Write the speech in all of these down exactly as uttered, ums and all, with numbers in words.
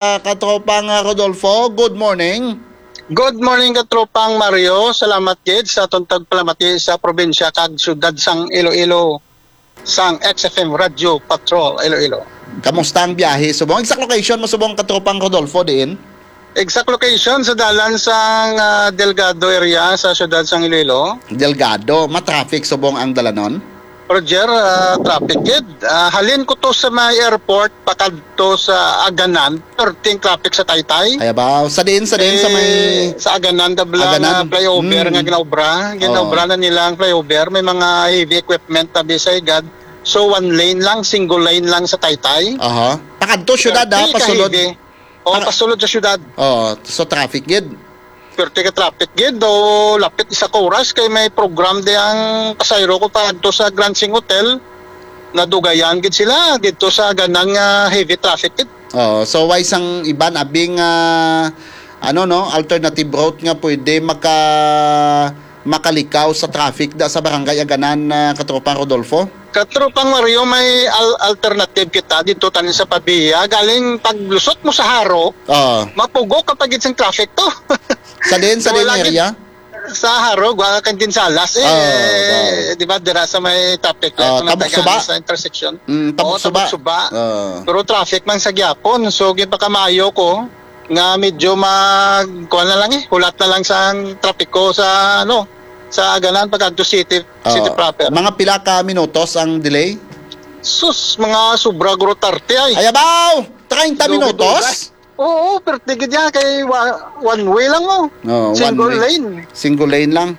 Ah, katropang, ah, Rodolfo, good morning. Good morning, katropang Mario. Salamat gid sa atong tagpalamati sa probinsya kag syudad sang Iloilo, sang X F M Radio Patrol Iloilo. Kamusta ang biyahe subong? Exact location mo subong, katropang Rodolfo, diin? Exact location sa dalan sang, ah, Delgado area sa syudad sang Iloilo. Delgado, ma-traffic subong ang dalanon? Roger, ah, traffic gid. Ah, halin ko to sa may airport, pakadto sa Aganan, perting traffic sa Taytay. Ay, abaw. Sa diin, sa diin, sa may Eh, sa Aganan, the bla-, Aganan. nga flyover Mm. nga ginaobra. Ginaobra Oo. na nila ang flyover. May mga heavy equipment na bisay gad. So, one lane lang, single lane lang sa Taytay. Aha. Pakadto syudad, ah, Perti ka pasulod. heavy. Oo, Para pasulod sa syudad. Oo, so traffic gid. Perti ka traffic gid, o lapit isa ka oras kay may program di ang pasayro ko pa adto sa Grand Sing Hotel. Nadugayan gid sila dito sa ganang, ah, heavy traffic gid. Oo, so why sang iban abing, ah, ano, no, alternative route nga pwede maka-, makalikaw sa traffic da sa Barangay Aganan, ah, Katropang Rodolfo? Katropang Mario, may al-, alternative kita dito tanin sa Pavia. Galing paglusot mo sa Jaro, Oo. mapugo ka pa gid sang traffic to. Sa din, sa So, din wala gid area? Sa Jaro, wa ka Kinsalas, eh, Oo, oo. di ba, dira sa may traffic light, Oo, sa Tabok natagaan Suba? sa intersection. Mm, Tabok Oo, Suba. Tabok Suba. Oo. Pero traffic man sa gyapon. So, ginpakamayo ko nga medyo mag-, kuwan na lang eh, hulat na lang sa trapiko sa, ano, sa Aganan pag-adto city, city Oo. proper. Mga pila ka minutos ang delay? Sus, mga sobra guro thirty ay. Ay, abaw! Treinta Dugay-dugay. minutos? Oo, pero tigid yan kay wa-, one way lang, oh. Oo, one Single way. lane. Single lane lang.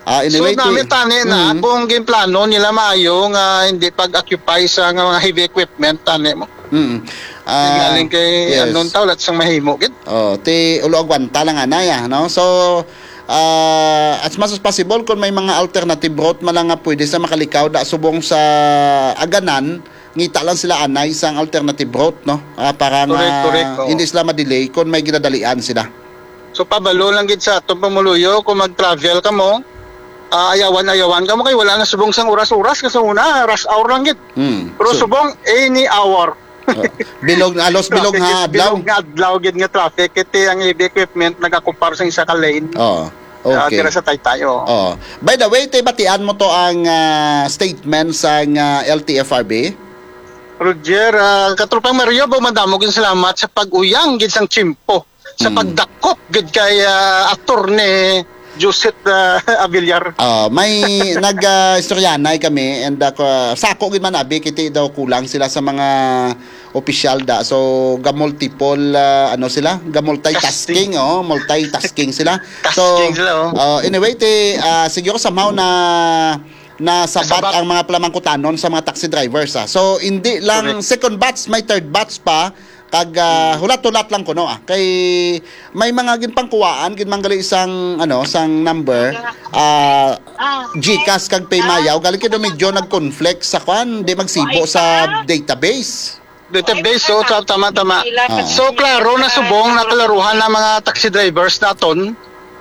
Ah, So, anyway, ti-, nami tani na Mm. kung ginplano nila maayo nga hindi pag-occupy sa nga mga heavy equipment, tani mo. Mm. Ah, Galing kay yes. Anong tao, lahat sang mahimo, gid. Oh, ti ulo agwanta lang anay, ah, no? So, ah, as much as possible, kung may mga alternative route man lang nga pwede sa makalikaw da subong sa Aganan, ngita lang sila anay sang alternative route, no? Ah, para Correct, nga correct, oo. hindi sila ma-delay kung may ginadalian sila. So, pabalo lang gid sa atong pumuluyo, kung mag-travel ka mo, ah, ayawan-ayawan ka mo kay wala na subong sang oras-oras, kasi una, rush hour lang gid. Hmm. Pero So, subong, any hour. Oh, bilog, alos bilog Traffic nga is adlaw. bilog nga adlaw gid nga traffic. Iti ang heavy equipment nagakupar sa isa ka lane. Oo. Ah, Okay. dira sa Taytay, oo. Oo. By the way, tay, batian mo to ang, ah, statement sang, ah, L T F R B? Roger, ah, Katropang Mario, ba, madamo gid salamat sa pag-uyang gid sang tiyempo, sa Hmm. pagdakop gid kay, ah, Attorney Joseph, ah, Avillar. Ah, may nag, ah, istoryanay kami and, ah, ka-, sako gid man abi, kiti daw kulang sila sa mga opisyal da. So, ga-multiple, ah, ano sila? Ga-multitasking, Tasking. oh, multitasking sila. So, Tasking sila, oh. ah, anyway, ti, ah, siguro somehow na nasabat Nasabat. ang mga pamangkutanon sa mga taxi drivers, ah. So, hindi lang Correct. second batch, may third batch pa. Kag, ah, Mm. hulat-hulat lang kuno, ah. Kay may mga ginpangkuwaan, ginmanggali sang, ano, sang number, ah, GCash kag PayMayaw. Galing kay daw medyo nag-conflict sa kwan, di magsibo sa database. Database, so, ta-, tama, tama. Ah. So, klaro na subong, nakalaruhan ang mga taxi drivers naton.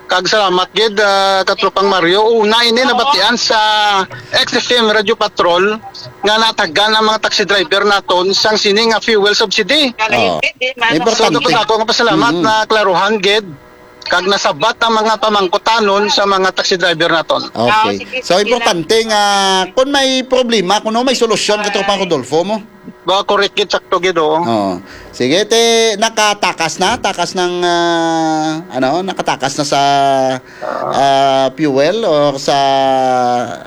Kag salamat gid, ah, Katropang Mario. Una ini nabatian sa X F M Radio Patrol nga natagan ang mga taxi driver naton sang sini nga fuel subsidy. Oh. So, Importante. dako-dako nga pasalamat Mm. na klaruhan gid kag nasabat ang mga pamangkutanon sa mga taxi driver naton. Okay. Ah, sige, So, sige importante lang. nga kung may problema, kung may solusyon, Katropang Rodolfo mo. Ba, correct gid, sakto gid, oo. Oo. Sige, te, nakatakas na, takas ng, ah, ano, nakatakas na sa, Ah. ah, fuel or sa,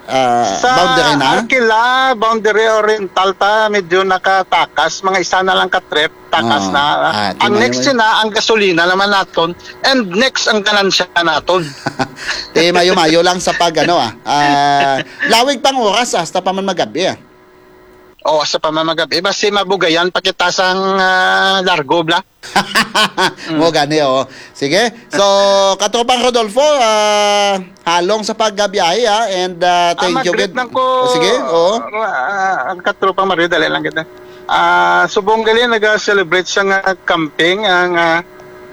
ah, Sa boundary na? Arquila, Boundary Oriental ta, medyo nakatakas, mga isa na lang ka trip, takas Oo. na. Ah, Ang timayo next mo yun. na, ang gasolina naman naton, and next ang ganansya naton. Te, mayo-mayo lang sa pag, ano, ah, ah, lawig pang oras, ah, hasta pa man magabi, ah. O, sa pamamagabi, basi mabugayan pa kita sang, ah, largo, bla. Mm. Mo gani, oo. Sige. So, Katropang Rodolfo, ah, halong sa pagbiyahe, ah, and, ah, Ah, thank you, mag-greet gid. lang ko, Sige, oo. ah, ang Katropang Mario, dali lang kita. Ah, subong gali, naga-celebrate sa nga camping ang, ah,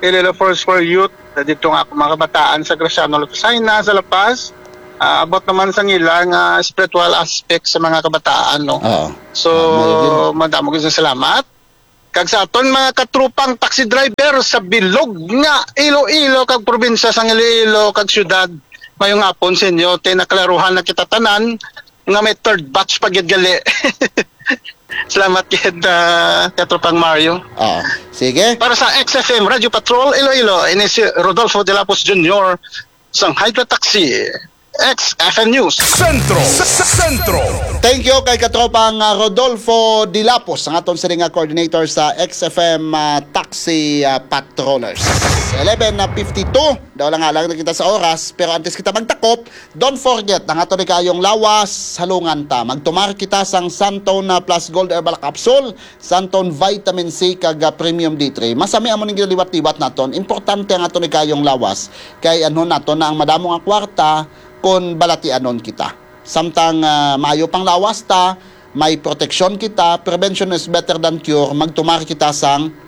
Iloilo Force for Youth. Dito nga ako, mga kabataan sa Graciano Lucena, sa La Paz. Ah, abot naman sa nila nga spiritual aspect sa mga kabataan, no? Oo. So, Ah, may yun. madamo gid sa salamat. Kag sa aton mga katropang taxi driver sa bilog nga Iloilo kag probinsya sang Iloilo kag syudad, mayong hapon sa inyo. Tay naklaruhan na kita tanan nga may third batch pa gid gali. Salamat gid, ah, Katropang Mario. Ah, sige. Para sa X F M Radio Patrol Iloilo, ini si Rodolfo de la Puz Junior sang Hydra Taxi, X F M News. Sentro. Sentro. Thank you kay katropang, ah, Rodolfo Dilapos, ang aton sini nga coordinator sa X F M, ah, Taxi, ah, Patrollers. Eleven na fifty-two, daw lang alang na kita sa oras, pero antes kita magtakop, don't forget ang aton ni kaayong lawas, halungan ta. Magtumar kita sang Santon na Plus Gold Herbal Capsule, Santon Vitamin C kag, ah, Premium D three. Masami amo ning ginaliwat-liwat naton. Importante ang aton ni kaayong lawas. Kay anhon naton na ang madamo nga kwarta kon balatianon kita. Samtang, ah, maayo pang lawas ta, may proteksyon kita, prevention is better than cure, magtumar kita sang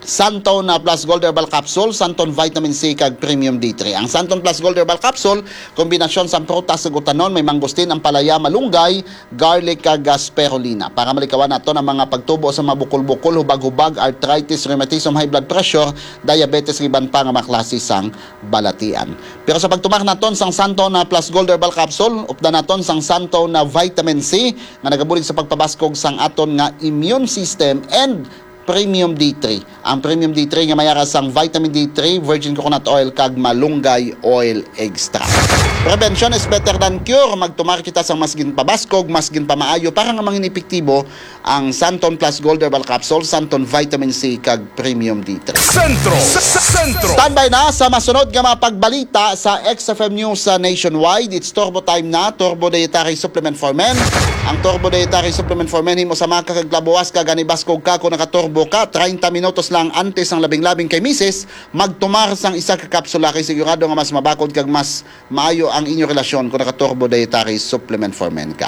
Santon na Plus Gold Herbal Capsule, Santon Vitamin C kag Premium D three. Ang Santon Plus Gold Herbal Capsule, kombinasyon sang prutas ug utanon, may mangustin, ampalaya, malunggay, garlic kag, ah, spirulina. Para malikawan naton ang mga pagtubo sa mga bukol-bukol, hubag-hubag, arthritis, rheumatism, high blood pressure, diabetes, ug iban pa nga mga klase sang balatian. Pero sa pagtumar naton sang Santon na Plus Gold Herbal Capsule, updan naton sang Santon na Vitamin C nga nagabulig sa pagpabaskog sang aton nga immune system and Premium D three. Ang Premium D three nga may ara sang Vitamin D three, virgin coconut oil, kag malunggay oil extract. Prevention is better than cure. Magtumar kita sang mas ginpabaskog, mas ginpamaayo para nga mangin epektibo ang Santon Plus Gold Herbal Capsule, Santon Vitamin C, kag Premium D three. Sentro. Sentro. Standby na sa masunod nga mga pagbalita sa X F M News sa nationwide. It's Turbo Time na, Turbo Dietary Supplement for Men. Ang Turbo Dietary Supplement for Men, himo sa maka kag labuwas ka, gani baskog ka kung nakaturbo ka. Treinta minutos lang antes ang labing-labing kay misis, magtumar sang isa ka kapsula kay sigurado nga mas mabakod kag mas maayo ang inyo relasyon kung naka-Turbo Dietary Supplement for Men ka.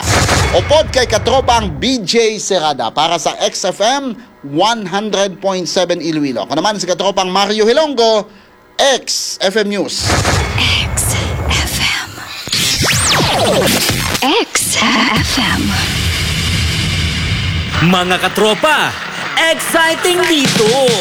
Upod kay katropang B J Serrada para sa X F M one hundred point seven Iloilo. Ako naman si katropang Mario Hilonggo, X F M News. X F M. X F M. Mga katropa, exciting dito!